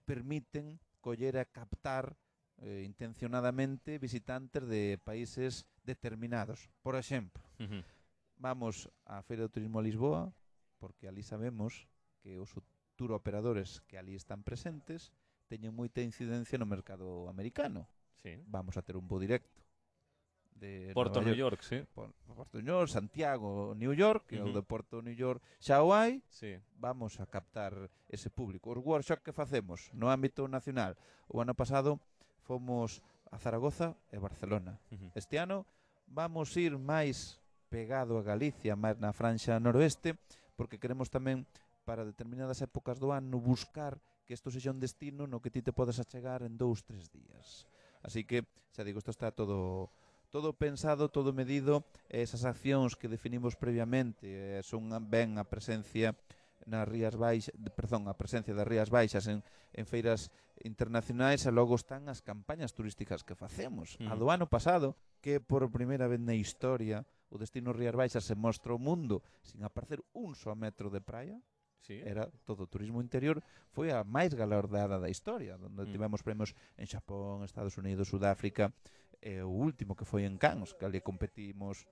permiten coller e captar intencionadamente visitantes de países determinados. Por exemplo, vamos á Feira do Turismo a Lisboa, porque ali sabemos que os tour operadores que ali están presentes teñen moita incidencia no mercado americano. Sí. Vamos a ter un voo directo de Porto, New York, sí. Porto, New York, Santiago, New York, que o de Porto, New York, xa o hai. Sí. Vamos a captar ese público. Os workshops que facemos no ámbito nacional, o ano pasado fomos a Zaragoza e Barcelona. Este ano vamos ir máis pegado a Galicia, máis na franxa noroeste, porque queremos tamén para determinadas épocas do ano buscar que isto sexa un destino no que ti te podes achegar en 2-3 días. Así que, xa digo, isto está todo pensado, todo medido. Esas accións que definimos previamente son ben a presencia nas Rías Baixas, a presencia das Rías Baixas en feiras internacionais, e logo están as campañas turísticas que facemos. A do ano pasado, que por primeira vez na historia o destino Rías Baixas se mostra ao mundo sin aparecer un só metro de praia, era todo turismo interior, foi a máis galardada da historia, onde tivemos premios en Xapón, Estados Unidos, Sudáfrica, o último que foi en Cannes, que ali competimos,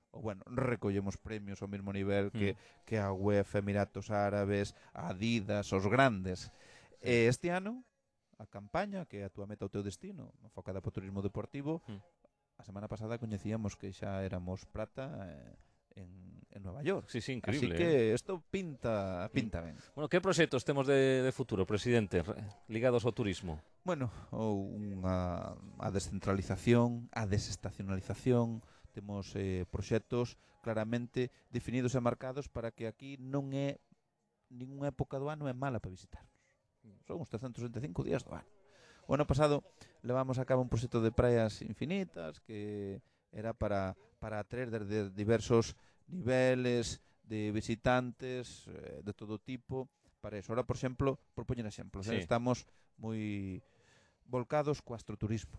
recollemos premios ao mesmo nivel que a UEFA, Emiratos Árabes, a Adidas, os grandes. Este ano, a campaña, que é a túa meta, o teu destino, enfocada para o turismo deportivo, a semana pasada coñecíamos que xa éramos prata en Nueva York. Sí, increíble. Así que isto pinta ben. Bueno, que proxectos temos de futuro, presidente, ligados ao turismo? Bueno, a descentralización, a desestacionalización, temos proxectos claramente definidos e marcados para que aquí non é ninguna época do ano é mala para visitarnos. Son os 365 días do ano. O ano pasado levamos a cabo un proxecto de praias infinitas que era para atraer desde diversos niveles de visitantes de todo tipo para eso. Ahora, por exemplo, por poñer exemplos, estamos moi volcados co astroturismo.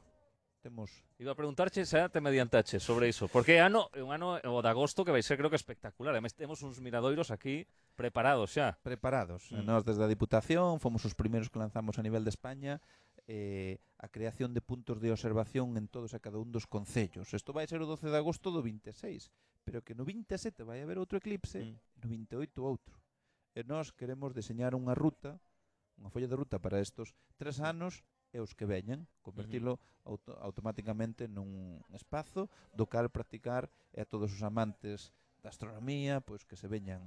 Iba a preguntarche xa te mediantache sobre iso, porque é un ano o de agosto que vai ser, creo que espectacular. Además, temos uns miradoiros aquí preparados xa. Preparados. Nós desde a Diputación fomos os primeiros que lanzamos a nivel de España a creación de puntos de observación en todos e cada un dos concellos. Isto vai ser o 12 de agosto do 26, pero que no 27 vai haber outro eclipse, no 28 outro. E nós queremos deseñar unha ruta, unha folla de ruta para estos 3 anos e os que veñan, convertilo automáticamente nun espazo do cal practicar e a todos os amantes da astronomía, pois que se veñan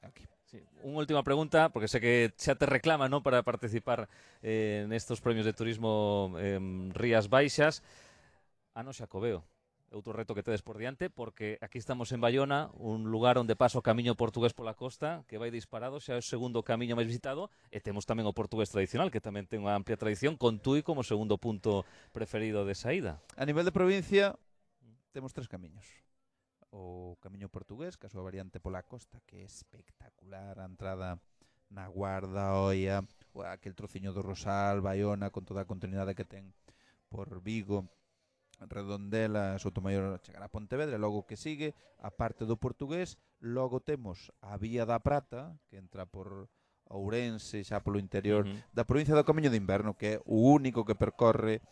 aquí. Sí. Unha última pregunta, porque sé que xa te reclama, ¿no?, para participar nestos premios de turismo Rías Baixas. Ano Xacobeo, outro reto que tedes por diante, porque aquí estamos en Baiona, un lugar onde pasa o camiño portugués pola costa, que vai disparado, xa é o segundo camiño máis visitado, e temos tamén o portugués tradicional, que tamén ten unha amplia tradición, con Tui como segundo punto preferido de saída. A nivel de provincia, temos 3 camiños. O camiño portugués, que a súa variante pola costa, que é espectacular, a entrada na Guarda, Oia, aquel trociño do Rosal, Baiona, con toda a continuidade que ten por Vigo, Redondela, Soutomaior, chegar a Pontevedra, logo que sigue a parte do portugués. Logo temos a Vía da Prata, que entra por Ourense, xa polo interior da provincia do Camiño de Inverno, que é o único que percorre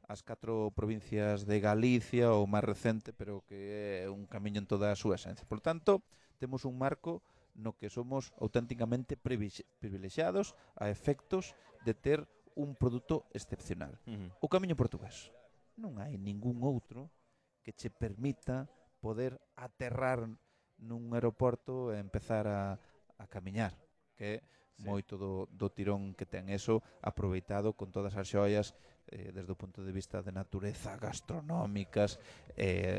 as 4 provincias de Galicia, o máis recente, pero que é un camiño en toda a súa esencia. Por tanto, temos un marco no que somos auténticamente privilexiados a efectos de ter un produto excepcional. O camiño portugués. Non hai ningún outro que che permita poder aterrar nun aeroporto e empezar a camiñar, que é moito do tirón que ten eso, aproveitado con todas as xoias desde o punto de vista de natureza, gastronómicas,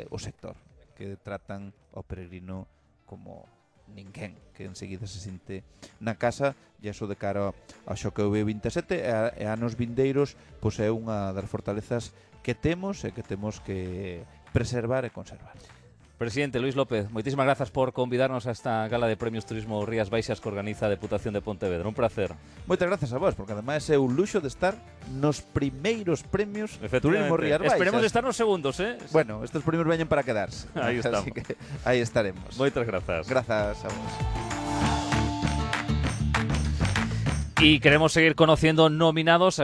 o sector, que tratan ao peregrino como ninguén, que enseguida se sinte na casa, e iso de cara ao Xacobeo 27 e anos vindeiros, pois é unha das fortalezas que temos e que temos que preservar e conservar. Presidente Luís López, moitísimas grazas por convidarnos a esta gala de Premios Turismo Rías Baixas que organiza a Deputación de Pontevedra. Un placer. Moitas grazas a vos, porque ademais é un luxo de estar nos primeiros premios Turismo Rías Baixas. Esperemos de estar nos segundos, ¿eh? Bueno, estes premios veñen para quedarse. Aí estamos. Así que aí estaremos. Moitas grazas. Grazas a vos. Y queremos seguir conociendo nominados a